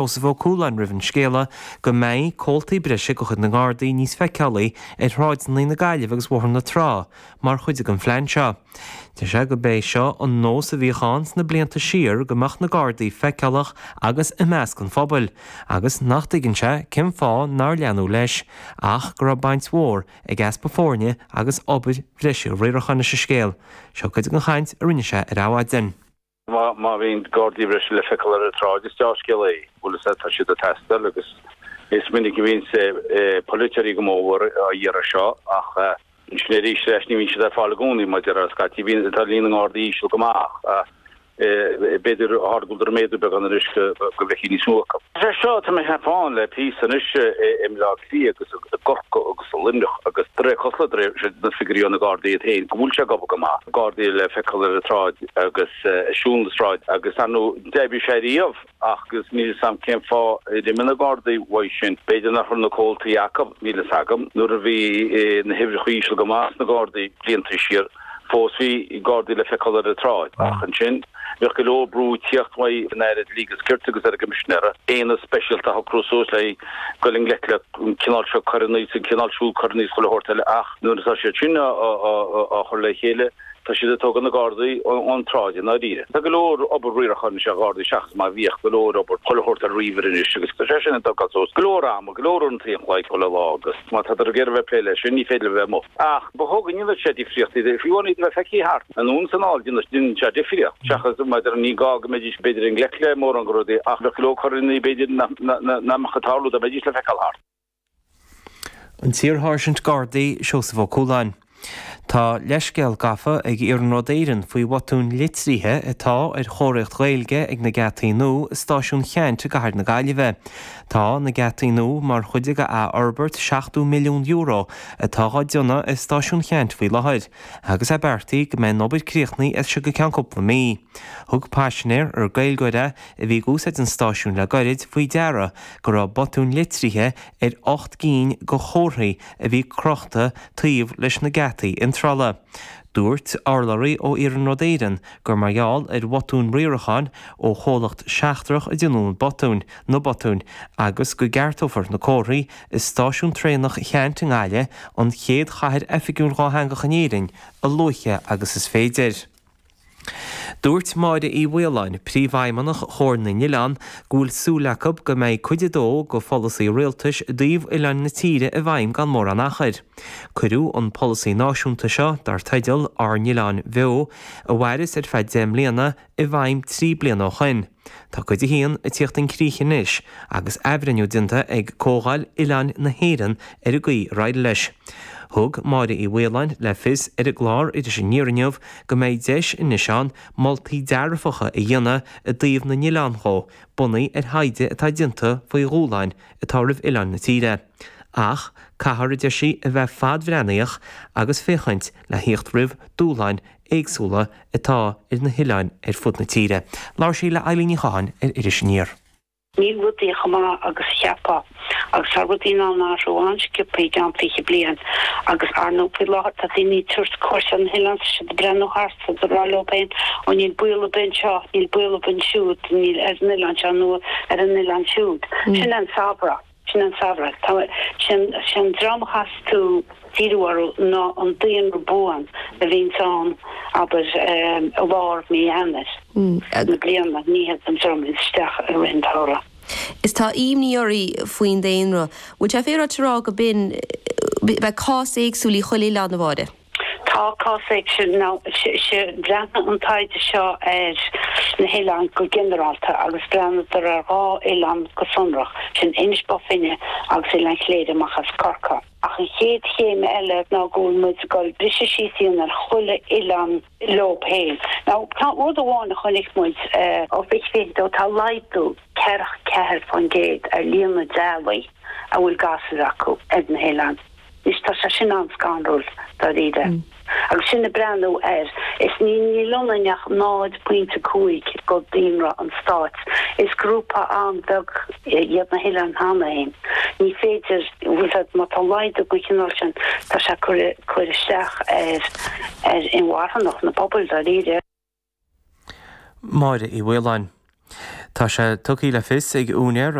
Seosamh Ó Cualáin roimh an scéala go mbeidh comhaltaí breise de chuid na nGardaí níos feiceálaí ar shráideanna na Gaillimhe agus Bhóthar na Trá mar chuid den phlean seo. Deir sé gurb é seo an nós a bhíodh ann sna blianta siar go mbeadh na Gardaí feiceálach agus i measc an phobail agus nach dtuigeann sé cén fáth nár leanadh leis ach go raibh baint mhór ag easpa foirne agus obair bhreise riaracháin leis an scéal. Seo cuid den chaint a rinne sé ar Adhmhaidin. Má bhíonn Gardaí breise le feiceáil ar an tsráid, is dea-scéal é. Bhfuil fhios a'd, tá siad ag teastáil agus is minic a bhíonns polaiteoirí go mór á iarraidh seo ach ansin arís leis ní bhíonn siad ar fáil i gcónaí mar a déarfá scaití bíonn tá líon na nGardaí íseal go maith ach b'fhéidir go bhfuileadar ag méadú beagán anois go bhfeicfí níos mó acu. Sé seo tá mé ag ceapadh ann le píosa anois i mBleá Cliath agus i gCorcaigh agus i Luimneach agus de réir cosúlachta de réir na figiúirí ó na Gardaí iad féin go bhfuil sé ag obair go maith. Gardaí le feiceáil ar an tsráid agus ag siúl na sráide agus ar ndóigh d'oibrigh sé riamh ach agus níl fhios a'm cén fáth ar imigh na Gardaí uaidh sin. B'fhéidir nach raibh na comhaltaí acu, níl fhios agam. Nuair a bhí na huimhreacha íseal go maith sna Gardaí blianta siar, Fós bhí Gardaí le feiceáil ar an tsráid, ach ansin bheadh go leor brú ag tíocht uaidh an Aire Dlí agus Cirt agus ar an gCoimisinéir aonad speisialta a shocrú suas le goil i ngleic le an cineál seo coireanna is an cineál siúd coireanna is chuile shórt eile ach nuair atá siad sin á chur le chéile tá siad ag tógáil na Gardaí ón tsráid i ndáiríre. Tá go leor obair riaracháin anois ar Ghardaí seachas mar a bhíodh, go leor obair chuile shórt ar ríomhaire anois agus tá sé sin ag tógáil suas go leor ama, go leor uaireanta an chloig chuile lá agus má tádar ag iarraidh a bheith ag plé leis sin ní féidir leo a bheith amuigh. Ach ba chóir go ndéanfadh sé difríocht, fiú amháin iad a bheith feicthe thart, anonn is anall, déanann sé difríocht, seachas maidir, ní gá go mbeidís b'fhéidir i ngleic le mórán de rudaí ach bheadh go leor coireanna b'fhéidir nach mbeadh ag tarlú dá mbeidís le feiceáil thart. An t-iarSháirsint Gardaí, Seosamh Ó Cualáin. Tá leithscéal gafa ag Iarnród Éireann faoi bhotúin litrithe atá ar chomharthaíocht Ghaeilge ag na geataí nua i Stáisiún Cheannt i gcathair na Gaillimhe. Tá na geataí nua mar chuid de athfhorbairt €70 milliún atá á déanamh i Stáisiún Cheannt faoi láthair agus é beartaithe go mbeidh an obair críochnaithe as seo go ceann cúpla mí. Thug paisinéir, ar Gaeilgeoir é, a bhí ag úsáid an stáisiúin le gairid faoi deara go raibh botún litrithe ar 8 gcinn de chomharthaí a bhí crochta taobh leis na geataí iontrála. Dúirt urlabhraí ó Iarnród Éireann gur mar gheall ar bhotún riaracháin ó chomhlacht seachtrach a déanadh an botún, na botúin, agus go gceartófar na comharthaí i stáisiún traenach Cheannt i nGaillimh, an chéad chathair oifigiúil dhátheangach in Éirinn, a luaithe agus is féidir. Dúirt Máire Uí Mhaoláin, Príomhfheidhmeannach Chomhar na nOileán, go bhfuil súil acu go mbeidh cuid a dó de pholasaí rialtais i dtaobh oileáin na tíre i bhfeidhm gan mórán achair. Cuireadh an polasaí náisiúnta seo, dar teideal Ár nOileáin Bheo, a mhairfeas ar feadh 10 mbliana, i bhfeidhm 3 bliana ó shoin. Tá cuid a haon ag tíocht chun críche anois agus athbhreithniú déanta ag Comhdháil Oileáin na hÉireann ar an gcaoi ar éirigh leis. Thug Máire Uí Mhaoláin le fios ar an gclár Iris Aniar inniu go mbeidh deis anois ann moltaí dearfacha a dhéanamh i dtaobh na n-oileán dhó, bunaithe ar thaighde atá déanta faoi dhúshláin atá roimh oileáin na tíre. Ach caithfear, a deir sí, a bheith fadbhreathnaíoch agus féachaint le thíocht roimh dúshláin éagsúla atá ar na hoileáin ar fud na tíre. Labhair sí le Eilín Ní Chatháin ar Iris Aniar. Níl rudaí chomh maith agus a cheapfá agus tá rudaí in ann athrú an-sciobtha i gceann 20 bliain agus ar ndóigh faoi láthair tá daoine ag tabhairt cuairt ar na hoileáin tá siad ag breathnú thart is ag rá leo féin ó níl baol ar bith anseo, níl baol ar bith ansiúd, níl ar an oileán seo nó ar an oileán siúd. Sin an samhradh. Sin an samhradh. Tá, sin, sin dream a chaithfeas tú díriú orthu ná an daonra buan a bhíonns ann, abair, i lár mí Eanáir na bliana, ní hiad an dream a bhíonns isteach i rith an tsamhraidh. Is tá imní oraibh faoin daonra. Bhfuil sé féaráilte a rá go b'in, beidh cás éagsúil í chuile oileán, a Mháire? Tá cás éagsúil now. Bhreathnaigh an taighde seo ar na hoileáin go ginearálta agus bhreathnadar ar dhá oileán go sonrach, sin Inis Bó Finne agus Oileán Chléire amach as Corcaigh. Ach an chéad chéim eile ná go bhfuil muid ag dul briseadh síos a dhéanamh ar chuile oileán leo féin. Now tá rud amháin a chonaic muid ó 2022, tá laghdú 44% ar líon na dteaghlaigh a bhfuil gasúir acu ar na hoileáin. Anois tá sé sin an-scanrúil, dáiríre. Agus sinn ag breathnú air, is ní níl ionainn ach 0.5 de daonra an stáit. Is grúpa an-bheag iad na hoileáin cheana féin. Ní féidir, bhfuil fhios a'd, má tá laghdú den chineál sin, tá sé ag cur cur isteach ar ar inmharthanacht na pobail, dáiríre. Máire Uí Mhaoláin. Tá sé tugtha le fios ag úinéir.